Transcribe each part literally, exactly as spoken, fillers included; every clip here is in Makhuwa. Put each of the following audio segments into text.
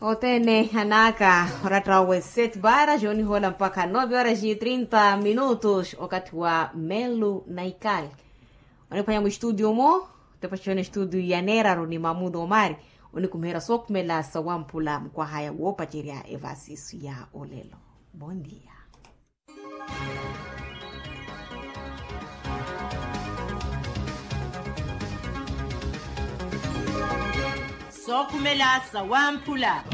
Othene anaka oratta owe sete para jooni hoola mpakha nove horas e trinta minutos okathi wa melu naikali. Oniphwanya mustudio omo, tepaxoni studio ya neeraru ni mamudo omari, onikumiherya sookhumela sawamphula mukwahaya woopacerya evasisu ya olelo. Bondia. Sookhumela sawamphula.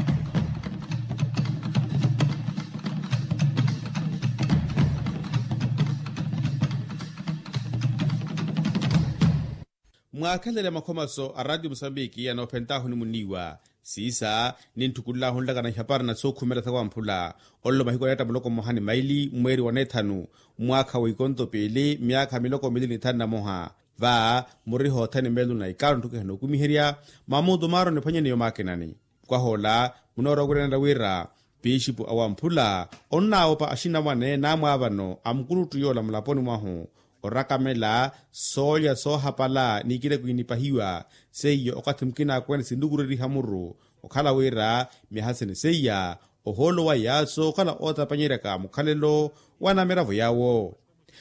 Mwaakhelele makhomaso a ratio musambiki anoophentaahu onimuniiwa. Siisa nintthukululahu nlakana ihapari na sookhumela sawamphula. Olelo mahiku aneetta muloko mmoha ni maili mweeri wa neethanu, mwaakha wa ikonto piili myaakha miloko miili ni thanu na moha. Va muriho othene meelo na ikaaru ntthukiha nookumiherya mamuutu maaro niphwanyeneyo maakinani. Kwahoola munoorowa wiranela wira pixipu awamphula onnaawopa axinamwane naamwaavano a mukuluttu yoola mulaponi mwahu orakamela soolya soohapala n'ikileko inipahiwa. Seiyo okathi mukina akwene sinlukureriha muru okhala wira myaha sene seiya ohoolo waya sookhala ootapanyeryaka mukhalelo wa namiravo yaawo.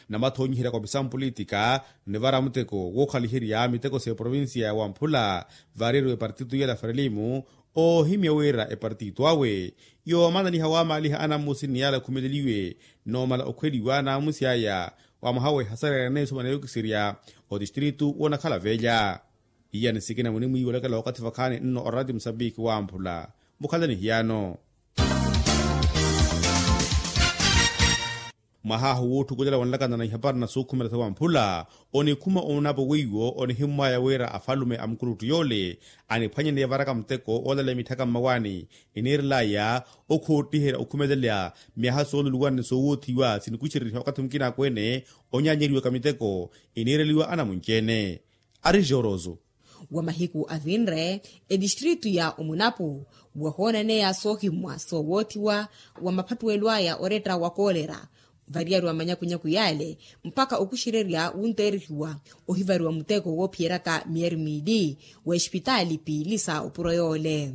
Namathoonyiheryaka opisamu politika nivara muteko wookhaliherya miteko s'eprovincia ya wamphula variyeriwa epartito yela frelimu oohimya wira epartito awe yoomananiha waamaaliha anammusi ni yaala akhumeleliwe noomala okhweliwa naamusi aya wa mwaha w'ehasaryana n'esumana yookiserya otistritu woonakhala veelya. Iyani sikina munimwiiwelekela wakathi vakhaani nno orati musambiki wamphula. Mukhalani hiyaano. Mwahaahu wootthukulela wanlakana na ihapari na suukhumela sawamphula onikhuma omunapo weiwo onihimmwaya wira afalume a mukuluttu yoole aniphwanyene yavaraka muteko oolaleya mitthaka mmawaani eniirelaya okhoottihela okhumelela myaha sooluluwana ni soowoothiwa sinikuxereriha wakathi mukina akweene onyaanyeriwaka miteko eniireliwa anamunci-ene. Ari joroso. Wa mahiku avinre etistritu ya omunapu wahoonaneya soohimmwa soowoothiwa wa maphattuwelo aya oretta wa koolera variyari wa manyakunyaku yaale mpakha okuxererya wunteerihiwa ohivariwa muteko woophiyeryaka miyari miili wa espitaali piili sa opuro yoole.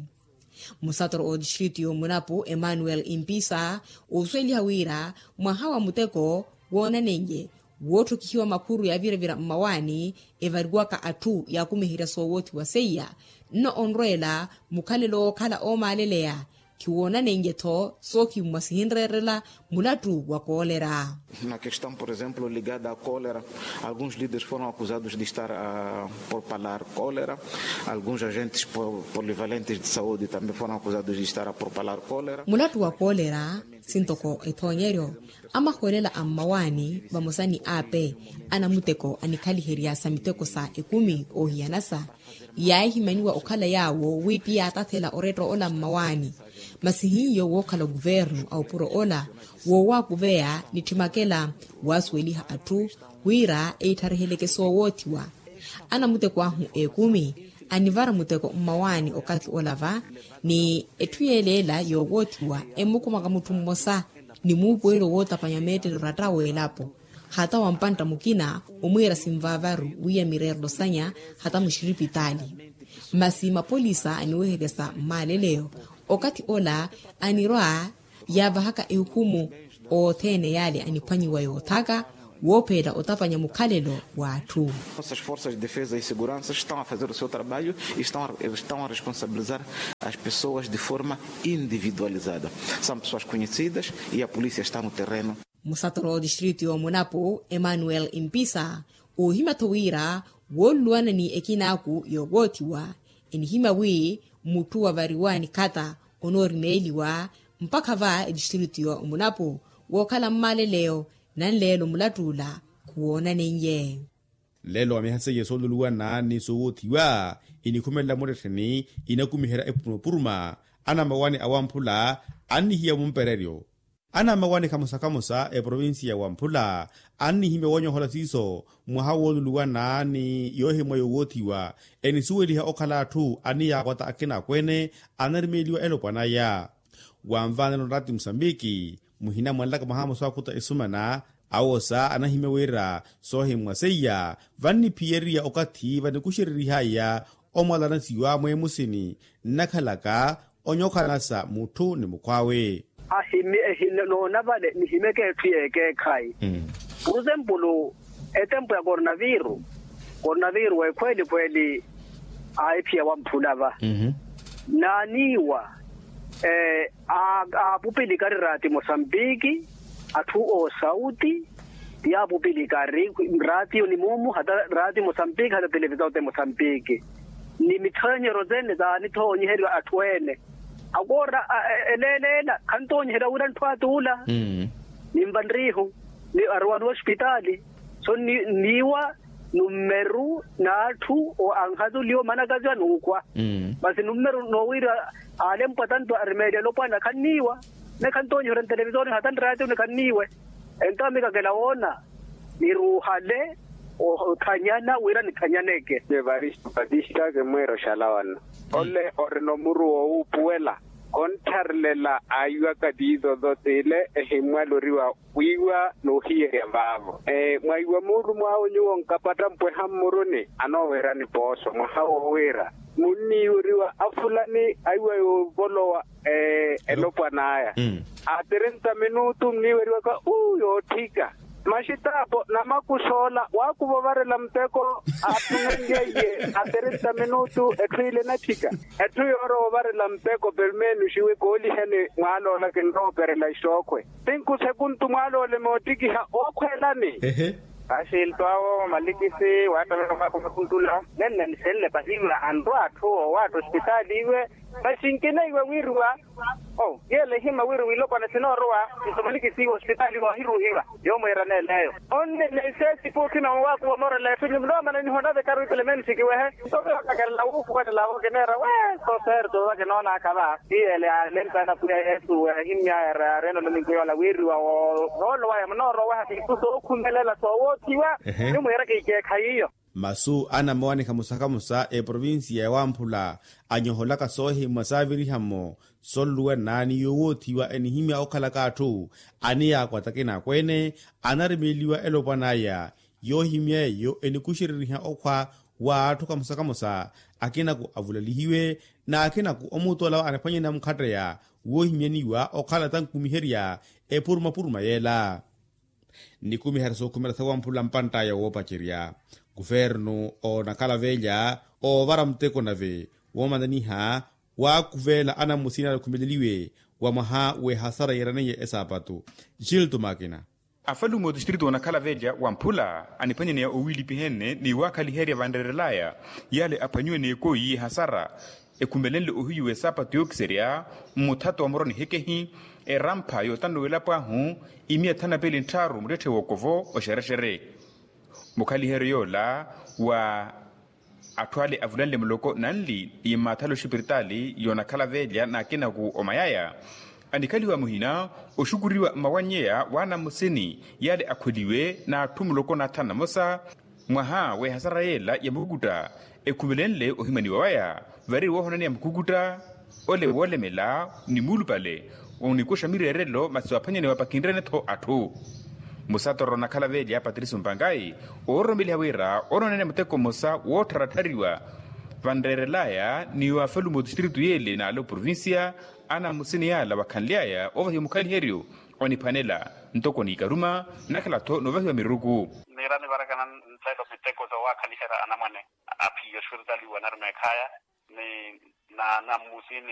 Musatoro otistritu y'omunapu emmanuel impisa oosuweliha wira mwaha wa muteko woonanenye wootthokihiwa makhuru yaaviravira mmawaani evariwaka atthu yaakumiherya soowoothiwa seiya nno onrweela mukhalelo wookhala oomaaleleya khiwoonanenye-tho soohimmwa sihinreerela mulattu wa koolera. Na questão por exemplo ligada a cólera, alguns líderes foram acusados de estar a propalar cólera, alguns agentes polivalentes de saúde também foram acusados de estar a propalar cólera. Mulattu wa koolera sintoko ethoonyeryo amahoolela a mmawaani vamosa ni ape anamuteko anikhaliherya sa miteko sa ekumi oohiyanasa yaahimaniwa okhala yaawo wi ti yaatathela oretta ola mmawaani. Masi hiyo wookhala okuvernu a opuro ola woowaakuveya nitthimakela waasuweliha atthu wira eitthareheleke soowoothiwa. Anamuteko ahu ekumi anivara muteko mmawaani okathi ola va ni etthu yeeleela yoowoothiwa emmukhumaka mutthu mmosa ni muupuwelo wootapanya meettelo oratta w'elapo hata wa mpantta mukina omwiira sinvaavaru wiiya mireerelo sanya hata muxiripitaali. Masi mapolisa aniweheryasa mmaaleleyo okathi ola anirwa yaavahaka ehukumu othene yaale aniphwanyiwa yoothaka woopheela otapanya mukhalelo w'atthu. Nossas forças de defesa e segurança estão a fazer o seu trabalho e estão a responsabilizar as pessoas de forma individualizada. São pessoas conhecidas e a polícia está no terreno. Musatoro otistritu y'omunapu emmanuel impisa oohimya-tho wira wooluluwana ni ekinaaku yoowoothiwa enihimya wi mutthu wavariwa nikhata onoorimeeliwa mpakha va etistritu y'omunapu wookhala mmaaleleyo nanleelo mulatt'ula khuwoonanenye. Nleelo wa myaha seiye sooluluwana ni soowoothiwa inikhumelela murettheni inakumiherya epurumapurumayi anammawaani awamphula annihiya mumpereryo. Anammawaani khamosa khamosa eprovinsiya wamphula annihimya woonyohola siiso mwaha wooluluwana ni yoohimwa yoowoothiwa enisuweliha okhala atthu aniyaakwata akina akweene anarimeeliwa elopwan'aya. Wanvaanela onrati musambiki muhina mwanlaka mwaha mmosa wakhuta esumana awosa anahimya wira soohimmwa seiya vanniphiyeriya okathi vanikuxererihaya omwalanasiwa mweemusini nnakhalaka Onyokhalana sa mutthu ni mukhw'awe. Ahimi ehina noona vale nihimeke etthu y'ekeekhayi. Puruzempulu, etempu ya kornaviru kornaviru ekhweeli khweeli, aahiphiya wamphula va naaniiwa. Aapupilika ari raati mosampiki, atthu oosauti, ti aapupilika ari raatiyo ni muumu hata raati mosampiki hata televisao te mosampiki, ni mithoonyeryo sene saanithoonyiheriwa atthu-ene. Akoora eleeleela khantoonyiheriwa wira ntthu atuula. Ninva nriihu ni aruwaniwa ospitaali. So nniiwa nummeru n'atthu anhatuliwa omanakaziwa n'ukhwa. Masi nummeru noowiira aalempwa tanto arimeeliwa elopwana khanniiwa. Naye khantoonyiheriwa ntelevisoni hata nraatiyo ni khanniiwe. Entawo mikakela woona niruuhale othanyana wira nithanyaneke. Evaristo patista kimwiira oxalawana. Ole orina omuru wowuupuwela. Konttharelela aiwaka tiizo zotiile ehimmwaloriwa wiiwa n'uhiyerya vaavo. Mwaiwa muulumo awe nyuwo nkapatta mpweha mmuruni anoowerani pooso mwaha wowiira munniiweriwa afulani aiwa yoovolowa elopwan'aya. A trinta minutu nniiweriwaka uu yootthika. Maxitaapo namakusoola waakuva ovarela muteko. Aatthunenlyeiye a trinta minutu etthu ile enatthika. Etthu yoorowa ovarela muteko permenu xiwi kooliheni mwaaloola kinrooperela ixookhwe. Tinku sekuntu mwaalole moottikiha ookhweelani. Axilto awo malikisi waattavela omwaakhu makuntula. Nenne nisenle pahiwa anrwa atthu owatta ospitaali iwe. Masi nkineiwe wiriwa o yeela ehima wiriwa ilopwana sinoorowa. Nto malikisi iwe ospitaali iwe ohiruuhiwa. Yoomwiira neeleyo onnene iseesi puukhina owaakhuwa omoorela etthu nyumu noomana nihonave karu ipelemeni sikiwehe. Nto viotakelela wuupuwelela vo kineera we. Soserto vakinoonaka va. Iyele alempana pwiya yesu ahimmyaya. Areena olominku yoola wiiriwa woolowaya munooroweha siisu sookhumelela soowoothiwa. Nyumu yeeraka ikeekhayi iyo. Masu anamowanikha musa kamusa eprovinsiya ya wamphula anyoholaka soohimmwa saaviriha-mo. Sonluwa nnaani yoowoothiwa enihimya okhalaka atthu aniyaakwata akina akweene. Anarimeeliwa elopwan'aya yoohimya eyo enikuxereriha okhwa w'atthu kamusa kamusa. Akinaku avulalihiwe n'akinaku omutola anephwanyana mukhatteya woohimyaniwa okhala tankumiherya epurumapuruma yeela. Nikumiherya sookhumela sawamphula mpantt'aya woopacerya kuvernu onakhala velya oovara muteko nave woomananiha waakhuveela anammusini ale okhumeleliwe wa mwaha w'ehasara yeeraneiye esaapatu. Gilto makina. Afalume otistritu onakhala velya wamphula aniphwanyaneya owiilipihene ni waakhaliherya vanreerel'aya yale aphwanyiwe n'ekoyi y'ehasara ekhumelenle ohiyu w'esaapatu yookiserya mmuthato wa muroni hekehi erampha yootannuwela pwaahu imiya thanu na piili nttharu muttetthe w'okovo oxerexere. Mukhaliheryo yoola wa atthu ale avulanle muloko nanli ni mmaathala oxipiritaali yoonakhala velya n'akinaku omayaya anikhaliwa muhina oxukuriwa mmawannyeya w'anamusini yale akhweliwe n'atthu muloko n'athanu na mosa. Mwaha w'ehasara yeela ya mukukutta ekhumelenle ohimaniwa waya vari woohonaneya mukukutta ole woolemela ni muulupale onikuxa mireerelo masi waaphwanyanewa pakinrene-tho atthu. Musatoro onakhala velya patricio mpangayi oororomeliha wira onoonene muteko mmosa woottharattariwa vanreerel'aya ni waafalume otistritu yeele n'ale oprovincia anamusini yaala wakhanly'aya oovahiwa mukhaliheryo oniphwanela ntoko n'ikaruma nakhala-tho noovahiwa miruku. Niira nivarakana nttelo miteko soowaakhaliherya anamwane aphiya oxuritali wanarumeekh'aya ni naana mmusini.